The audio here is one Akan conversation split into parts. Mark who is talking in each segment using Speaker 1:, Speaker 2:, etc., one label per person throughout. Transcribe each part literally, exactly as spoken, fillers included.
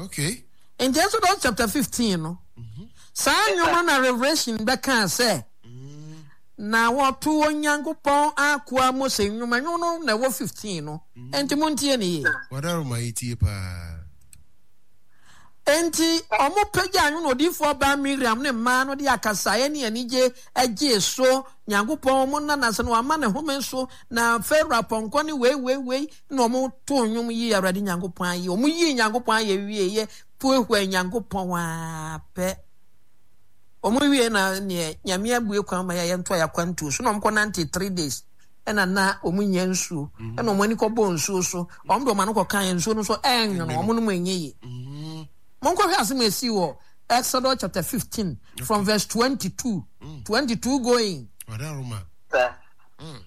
Speaker 1: Okay.
Speaker 2: Nti Exodus chapter fifteen no, saa nnwom no na Revelation bɛkaa sɛ, na wɔto Onyankopɔn akoa Mose nnwom. Nnwom no na ɛwɔ fifteen no. Enti montie ne yie.
Speaker 1: Wadaroma yɛtie paa.
Speaker 2: Enti wɔpagyaa nnwom na odiyifoɔ baa Miriam ne mmaa no de akasaeɛ ne anigye gyee so. Nyankopɔn wɔn nna n'ase na wama ne home so, na Farao apɔnkɔ ne wei wei wei na wɔtoo nnwom yii Awurade Nyankopɔn ayɛ. Wɔyii Nyankopɔn ayɛ wieeɛ, puehuaa Nyankopɔn ara pɛ. Wɔn wie na neɛ Nyame abue kwan ma yɛn yɛntoa yɛn akwantuo so na wɔn kɔ nante three days ɛna na wɔn nyɛ nsuo mm. Ɛna wɔn ani kɔ bɔ nsuo so, wɔn de wɔn ano kɔ kan nsuo no so ɛnwono, wɔn nom ɛnyɛ yie. Mm. Monkɔhwɛ asɛm a ɛsii wɔ Exodus chapter fifteen from verse twenty two mm. twenty two going.
Speaker 1: Mm.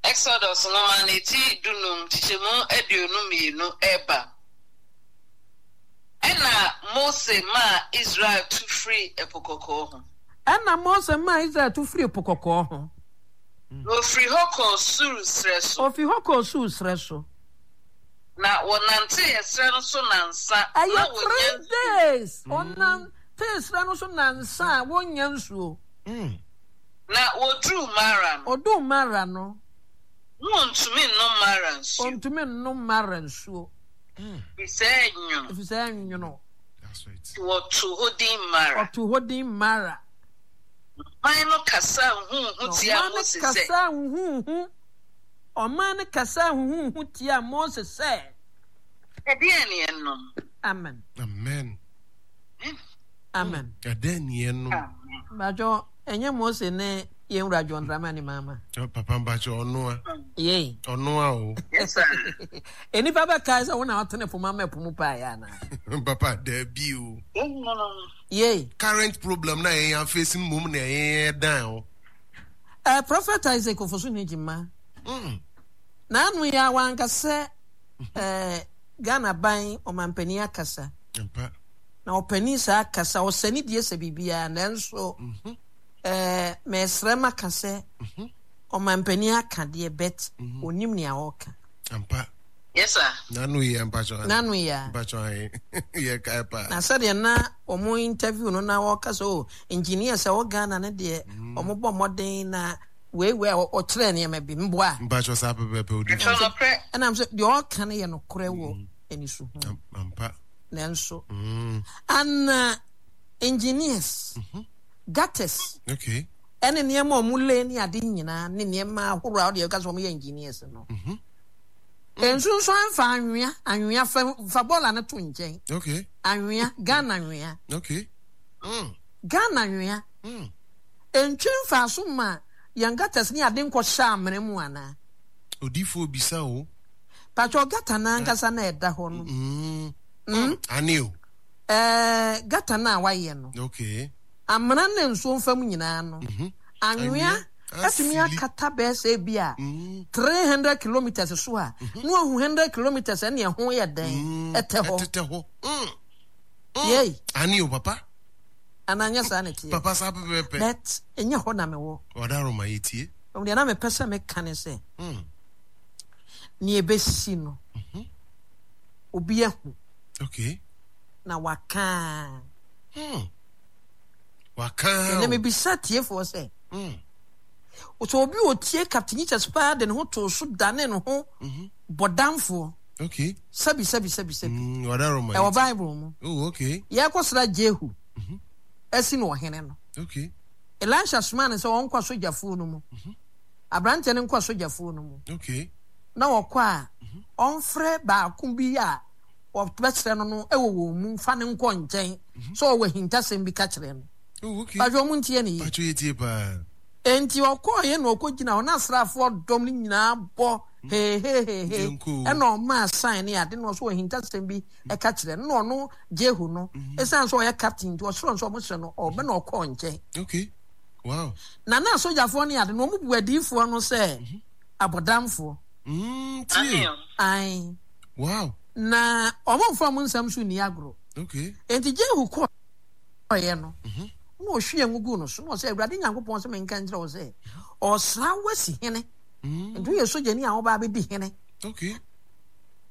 Speaker 3: Exodus nwoma no ti dunum kyekyɛmu aduonu mmienu ɛba. Ɛnna Mose maa Israel tu firii Ɛpo Kɔkɔɔ ho.
Speaker 2: Ɛnna Mose maa Israel tu firii Po Kɔkɔɔ ho.
Speaker 3: Na wɔfirii hɔ kɔɔ Sur serɛ so.
Speaker 2: Wɔfirii hɔ kɔɔ Sur serɛ so.
Speaker 3: Na wɔnantee ɛserɛ no so nnansa, na
Speaker 2: Ɛyɛ
Speaker 3: wɔnnya
Speaker 2: three
Speaker 3: nsuo.
Speaker 2: days. Wɔnantee serɛ no so nnansa a wɔnnya nsuo.
Speaker 3: Na wɔduruu Mara no.
Speaker 2: Wɔduu Mara no.
Speaker 3: Na wɔntumi nnom Mara nsuo.
Speaker 2: Wɔntumi nnom Mara nsuo.
Speaker 3: Ɛfiri sɛ ɛnwono.
Speaker 2: Ɛfiri sɛ ɛnwono.
Speaker 3: Nti wɔtoo hɔ din Mara.
Speaker 2: Wɔtoo hɔ din Mara.
Speaker 3: Na ɔman no kasaa huhuuhu tiaa Mose sɛ.
Speaker 2: Ɔman no kasaa huhuuhu. Ɔman no kasaa huhuuhu tiaa Mose sɛ.
Speaker 3: Ɛdeɛn ne yɛnnom?
Speaker 2: Amen.
Speaker 1: Amen.
Speaker 2: Amen.
Speaker 1: Ɛdeɛn ne yɛnnom?
Speaker 2: Mpakyɛ, ɛnyɛ Mose ne yɛn wura John Dramani Mahama.
Speaker 1: Papa mpakyɛ, ɔno a.
Speaker 2: Yei.
Speaker 1: Ɔno a o.
Speaker 3: Yes sir.
Speaker 2: Nnipa bɛkae sɛ wo na ɔtene poma ma ɛpo mu paeɛ anaa?
Speaker 1: Papa, daabi o.
Speaker 2: Yei.
Speaker 1: Current problem na yɛn afeesi no mmom na yɛn dan o.
Speaker 2: Eh, Prophet Isaac Ofosu Nijima.
Speaker 1: Mm.
Speaker 2: N'ano yi a wanka sɛ eh, Ghana ban ɔmampanin akasa.
Speaker 1: Mpa.
Speaker 2: Na ɔpanin saa kasa, ɔsɛ ne die sɛ biribiara, nanso
Speaker 1: mm -hmm.
Speaker 2: eh, mesrɛ maka sɛ
Speaker 1: mm -hmm.
Speaker 2: ɔmampanin aka deɛ bet
Speaker 1: mm -hmm.
Speaker 2: onim nea ɔreka.
Speaker 1: Ampa.
Speaker 3: Yes sir.
Speaker 1: N'ano yi mpatsɔ.
Speaker 2: N'ano yi a.
Speaker 1: Mpatsɔ ayi yɛ kae paa.
Speaker 2: Na sɛdeɛ na wɔn interview no na wɔka sɛ o oh, engineers a wɔ Ghana no deɛ mm. wɔn bɔ mmɔden na wei wei a ɔkyerɛ nneɛma bi mboa.
Speaker 1: Mpatsɔ saa pɛpɛpɛ odi.
Speaker 3: Ɛtɔ nokorɛ.
Speaker 2: Ɛnam sɛ deɛ ɔka no yɛ nokorɛ wɔ mm. aniso ho.
Speaker 1: Ampa.
Speaker 2: Nanso.
Speaker 1: Mm.
Speaker 2: Ana engineers.
Speaker 1: Mm -hmm.
Speaker 2: Gutters.
Speaker 1: Okay.
Speaker 2: Ɛne nneɛma a wɔn lay ne ade nyinaa ne nneɛma ahorow a wɔde ɛka sɛ wɔn yɛ engineers no.
Speaker 1: Mm -hmm.
Speaker 2: Nsunsuan fa anwea, anwea fa fa bɔɔla no to nkyɛn.
Speaker 1: Okay.
Speaker 2: Anwea, Ghana anwea.
Speaker 1: Okay. Mm.
Speaker 2: Ghana anwea.
Speaker 1: Mm.
Speaker 2: Ntwi mfaso ma yɛn gutters ne ade nkɔhyɛ amena mu anaa?
Speaker 1: Odiifoɔ bisa o.
Speaker 2: Patwɔ gutter no ankasa na ɛda hɔ no.
Speaker 1: Mm.
Speaker 2: Mm.
Speaker 1: Ane o.
Speaker 2: Ɛɛ gutter no a wayɛ no.
Speaker 1: Okay.
Speaker 2: Amena ne nsuo mfa mu nyinaa no.
Speaker 1: Mm -hmm.
Speaker 2: Anwea atumi akata bɛyɛ sɛ ebi a three hundred kilometres so a, na wahu hundred kilometres ɛne ɛho yɛ dɛn ɛtɛ hɔ.
Speaker 1: Ɛtetɛ hɔ.
Speaker 2: Yei.
Speaker 1: Ani o papa.
Speaker 2: Anaa nyɛ saa na ɛteɛ.
Speaker 1: Papa saa pɛpɛɛpɛ.
Speaker 2: But ɛnyɛ hɔ na mewɔ.
Speaker 1: Ɔdaroma yɛ tie.
Speaker 2: Deɛ na mepɛ sɛ meka ne sɛ, nea ɛbɛsi no, obi ahu.
Speaker 1: Okay.
Speaker 2: Na waka.
Speaker 1: Hmm. Waka.
Speaker 2: Ɛnna mebisa tiefoɔ sɛ, sɛ obi otie Captain Jesus paa de ne ho too so dane ne ho
Speaker 1: mhm.
Speaker 2: bɔdamfoɔ.
Speaker 1: Okay.
Speaker 2: Sɛbi sɛbi sɛbi sɛbi.
Speaker 1: Mm,
Speaker 2: Ɛwɔ Bible mu.
Speaker 1: Oh, okay.
Speaker 2: Yɛkɔsra Jehu.
Speaker 1: Mm-hmm.
Speaker 2: Asi no ɔhene no.
Speaker 1: Okay.
Speaker 2: Elisha somaa no sɛ ɔnkɔ asogyafoɔ no mu.
Speaker 1: Mm-hmm.
Speaker 2: Aberanteɛ no nkɔ asogyafoɔ no mu.
Speaker 1: Okay.
Speaker 2: Na ɔkɔ a,
Speaker 1: mm-hmm.
Speaker 2: ɔmfrɛ baako bi a ɔbɛkyerɛ no no wɔ wɔn mu mfa no nkɔ nkyɛn sɛ ɔwɔ ahintasɛm bi ka kyerɛ no.
Speaker 1: Oh, okay.
Speaker 2: Patro ɔmo ntie ne yie.
Speaker 1: Patro yɛ tie paa.
Speaker 2: Enti ɔkɔɔeɛ na ɔkɔgyina hɔ na asraafoɔ dɔm no nyinaa bɔ hehehehe ɛna ɔmaa sign ne ade na ɔso ahintasɛm bi ɛka kyerɛ no na ɔno Jehu no ɛsiane sɛ ɔyɛ captain nti ɔsrɛ no sɛ ɔmo srɛ no ɔbɛ na ɔkɔɔ nkyɛn.
Speaker 1: Okay. Wow.
Speaker 2: Na na asogyafoɔ ne ade no ɔmo bu adiyifoɔ no sɛ abɔdamfoɔ.
Speaker 1: Mm, tie.
Speaker 2: Ae.
Speaker 1: Wow.
Speaker 2: Na ɔmo mfa ɔmo nsɛm so nni agorɔ.
Speaker 1: Okay.
Speaker 2: Enti Jehu kɔeɛ no,
Speaker 1: Mhm.
Speaker 2: na ɔhwiee ngo guu no so, na ɔsɛ, Awurade Nyankopɔn sɛ menka nkyerɛ wo sɛ, ɔsra wo asi hene.
Speaker 1: Mm.
Speaker 2: Nti woyɛ sogyani a wobaa bɛdi hene.
Speaker 1: Okay.